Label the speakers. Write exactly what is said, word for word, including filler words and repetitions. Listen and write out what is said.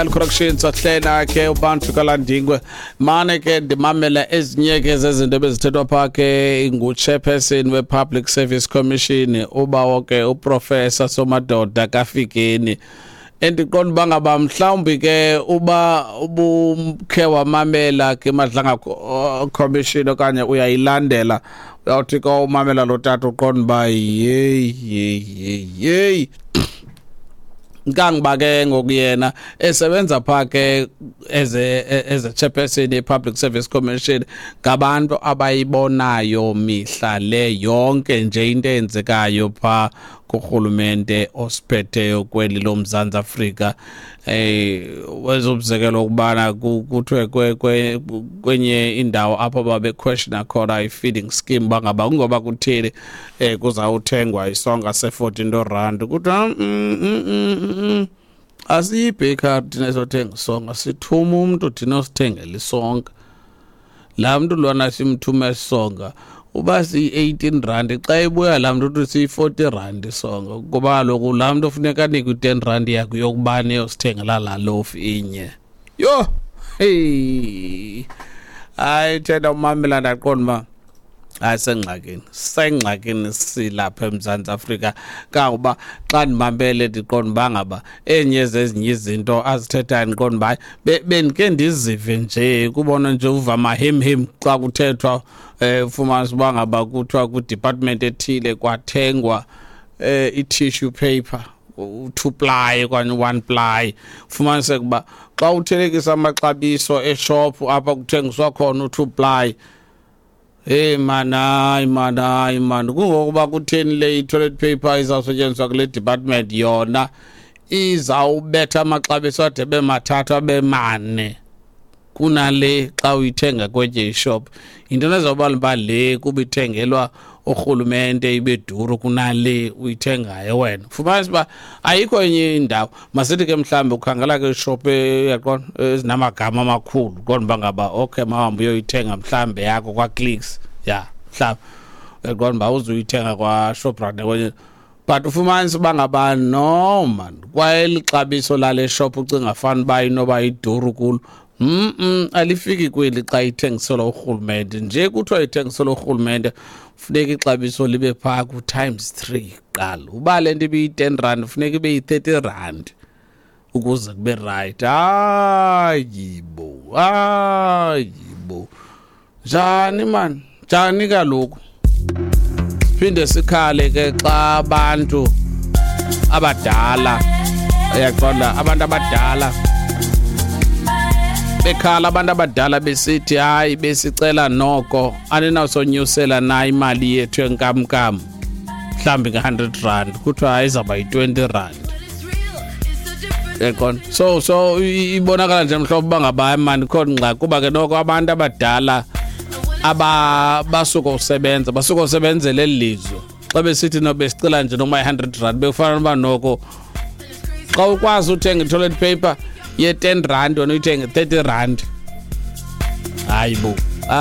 Speaker 1: Corrections ahlena ke uBantu kaLandingwe. Mane ke ndimamela ezinye ke zezinto ebezithethwa phaa ke ngu-chairperson we-Public Service Commission, ubawo ke uProfessor Somadoda Kafikeni. Endiqonda uba ngaba mhlawumbi ke uba ubukhe wamamela ke Madlanga Commission okanye uyayilandela, uyawuthi ka umamela lo tata uqonda uba yeyi yeyi yeyi yeyi. Nkangiba ke ngoku yena esebenza phaa ke as a as a chairperson ye-Public Service Commission, ngabantu abayibonayo mihla le yonke nje into eyenzekayo phaa kurhulumente osiphetheyo kweli loMzantsi Afrika. eh wezomzekelo ukubana kuthiwe kwenye indawo apho babequestiona khona i-feeding scheme bangaba kungoba kutheni eh kuzawuthengwa isonka se-fourteen rand, kuthiwa mm, mm, mm, asiyi-bakery thina esothenga isonka, sithuma umntu thina osithengela isonka. Laa mntu lona simthuma isonka uba siyi-eighteen rand, xa ibuya laa mntu uthi siyi-forty rand isonka, kuba kaloku laa mntu funeka anikwe i-ten rand yakhe yokubana eyosithengela laa lofu inye. Yho, heyi, hayi, thena umamela ndaqonda uba hayi, sengxakini, sengxakini silapha eMzantsi Afrika. Kangoba xa ndimamele ndiqonda uba ngaba enye zezinye izinto azithethayo ndiqonda uba hayi, bendike ndizive nje kubona nje uva amahemhem xa kuthethwa, eh ufumanisa uba ngaba kuthiwa kwidepartment ethile kwathengwa eh i-tissue paper u-two ply okanye u-one ply, ufumaniseke uba xa uthelekisa amaxabiso eshophu apha kuthengiswa khona u-two ply, hey man, hayi man, hayi man, kungokuba kutheni le i-toilet paper izawusetyenziswa kule department yona izawubetha amaxabiso ade abe mathathu abe mane kunale xa uyithenga kwenye ishop? Yintoni ezawubala uba le kuba ithengelwa urhulumente ibe duru kunale uyithengayo wena? Fumanisa uba ayikho enye indawo. Masithi ke mhlawumbi ukhangela ke ishop, uyaqonda, ezinamagama amakhulu, qonda uba ngaba okay, mawuhambe uyoyithenga mhlawumbi yakho kwaClicks, ya mhlawumbi uyaqonda uba uzuyithenga kwaShoprite kwenye, but ufumanisa uba ngaba no man, kwaye lixabiso lale shop ucinga fana uba inoba iduru kulo, mm alifiki kweli xa ithengiselwa urhulumente. Nje kuthiwa ithengiselwa urhulumente, funeka ixabiso libe phaa ku-times three kuqala. Uba le nto ibiyi-ten rand, funeka ibe yi-thirty rand ukuze kube right. Hayibo, hayibo, njani man, njani kaloku? Siphinde sikhale ke xa abantu abadala, uyaqonda, abantu abadala bekhala, abantu abadala besithi hayi, besicela noko aninawusonyusela na imali yethu yenkamnkam mhlawumbi nge-hundred rand, kuthiwa hayi, izawuba yi-twenty rand, uyaqonda? So so ibonakala nje mhlobo uba ngaba hayi mani, ikhona ingxaki, kuba ke noko abantu abadala aba basuka usebenza, basuka usebenzela eli lizwe, xa besithi no besicela nje noma i-hundred rand, bekufana noba noko xa ukwazi uthenga i-toilet paper ye-ten rand, wena uyithenge thirty rand. Hayi bo.